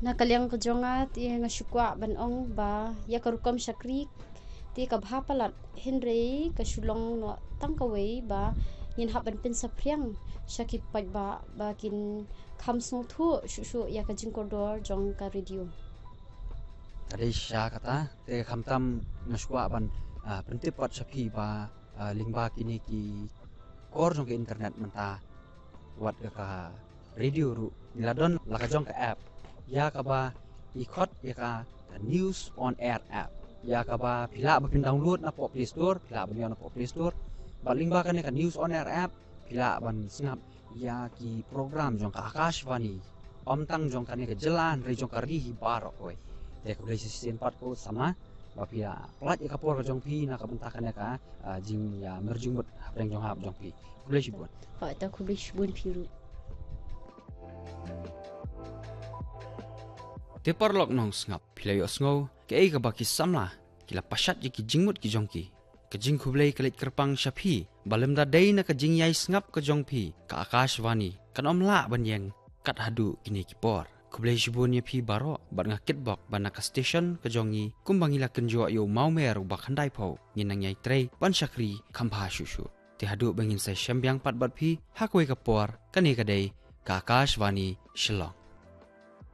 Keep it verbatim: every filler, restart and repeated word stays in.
Na ka liang ka jong nga te nga shu kwah ban ong ba ïa ka rukom shakri te ka bha palat, hynrei ka shu long noh tang kawei ba ngin hap ban pynsaphriang sha ki paidbah ba kin kham sngewthuh shuh shuh ïa ka jingkordor jong ka radio. Ka dei shisha kata, te khamtam nga shu kwah ban, ah, pyntip pat sha phi ba, ah, lyngba kine ki kor jong ka internet mynta, wat ka, ka radio ruh ngi la don la ka jong ka app, ïa kaba i khot ïa ka, ka News on Air app, ïa kaba phi lah ba phin download na poh Play Store, phi lah ban ïoh na poh Play Store. Bad lyngba kane ka News on Air app phi lah ban sngap ïa ki program jong ka Akashvani, ym tang jong kane ka jylla hynrei jong ka ri hi baroh kawei. Te khublei shisien pat ko samla ba phi la pynlait ïa ka por ka jong phi na ka bynta kane ka, ah, jing, ïa, mer jingmut hapdeng jong hap jong phi. Khublei shibun. Hooid, ta khublei shibun phi ruh. Te paralok nongsngap, phi la ïohsngew kaei kaba ki samla ki la pashat ïa ki jingmut ki jong ki. Ka jingkhublei ka leit kyrpang sha phi ba lymda dei na ka jingïai sngap ka jong phi, ka Akashvani kan ym lah ban ïeng kat haduh kine ki por. Khublei shibun ïa phi baroh, bad nga kitbok ba na ka station ka jong ngi, kumba ngi la kynjoh ïa u mawmer uba khyndai phew, ngin nang ïai trei ban shakri kham bha shuh shuh. Te haduh ba ngin sa ïashem biang pat bad phi ha kawei ka por, kane ka dei ka Akashvani Shillong.